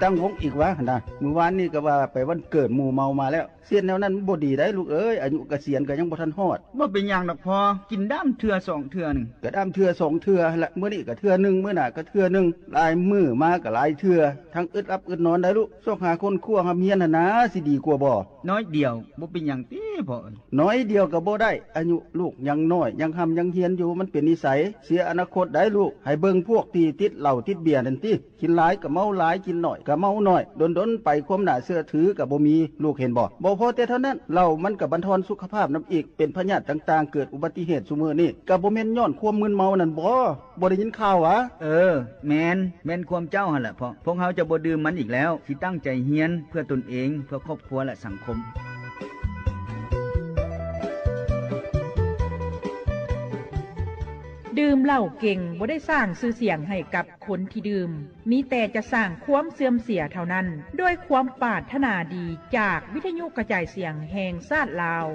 ຕັ້ງວົງອີກຫວາຫັ້ນນະ. ມື້ວານນີ້ກໍວ່າໄປວັນເກີດໝູ່ເມົາມາແລ້ວ. ເຮັດແນວນັ້ນມັນບໍ່ດີໄດ໋ລູກເອີຍ, ອາຍຸກະສຽນກໍຍັງບໍ່ທັນຮອດ. ບໍ່ເປັນຫຍັງດອກພໍ່, ກິນດາມເທື່ອສອງເທື່ອໜຶ່ງ. ກະດາມເທື່ອສອງເທື່ອຫັ້ນລະ, ມື້ນີ້ກະເທື່ອໜຶ່ງ, ມື້ໜ້າກະເທື່ອໜຶ່ງ, ຫຼາຍມື້ມາກະຫຼາຍເທື່ອ. ທັງອຶດຫຼັບອຶດນອນໄດໃລູກ. ຊອກຫາຄົ້ນຄວ້າຮ່ຳຮຽນຫັ້ນນາ ຊິດີກວ່າບໍ່? ໜ້ອຍດຽວ, ບໍ່ເປັນຫຍັງຕິພໍ່ເອີຍ. ໜ້ອຍດຽວກໍບໍ່ໄດ້, ອາຍຸລູກຍັງນ້ອຍ, ຍັງຮ່ຳຍັງຮຽນຢູ່, ມັນເປັນນິໄສ. ເສຍອະນາຄົດໄດໃລູກ. ໃຫ້ເບິ່ງພວກທີ່ຕິດເຫຼົ້າຕິດເບຍນັ້ນຕິ. ກິນຫຼາຍກໍເມົາຫຼາຍ, ກິນໜ້ອຍກໍເມົາໜ້ອຍ, ດົນໆໄປຄວາມໜ້າເຊື່ອຖືກໍບໍ່ມີ. ລູກເຫັນບໍ່? ບໍ່ພໍແຕ່ເທົ່ານັ້ນ, ເຫຼົ້າມັນກໍບັນທອນສຸຂະພາບນຳອີກ, ເປັນພະຍາດຕ່າງໆ, ເກີດອຸບັດຕິເຫດຊຸມື້ນີ້ ກໍບໍ່ແມ່ນຍ້ອນຄວາມມຶນເມົານັ້ນບໍ? ບໍ່ໄດ້ຍິນຂ່າວຫວາ? ເອີ, ແມ່ນ, ແມ່ນຄວາມເຈົ້າຫັ້ນແຫຼະພໍ່. ພວກເຮົາຈະບໍ່ດື່ມມັນອີກແລ້ວ, ຊິຕັ້ງໃຈຮຽນເພື່ອຕົນເອງ, ເພື່ອຄອບຄົວ ແລະ ສັງຄົມ. ດື່ມເຫຼົ້າເກັ່ງບໍ່ໄດ້ສ້າງຊື່ສຽງໃຫ້ກັບຄົນທີ່ດື່ມ, ມີແຕ່ຈະສ້າງຄວາມເສື່ອມເສຍເທົ່ານັ້ນ. ດ້ວຍຄວາມປາດຖະໜາດີຈາກວິທະຍຸກະຈາຍສຽງແຫ່ງຊາດລາວ.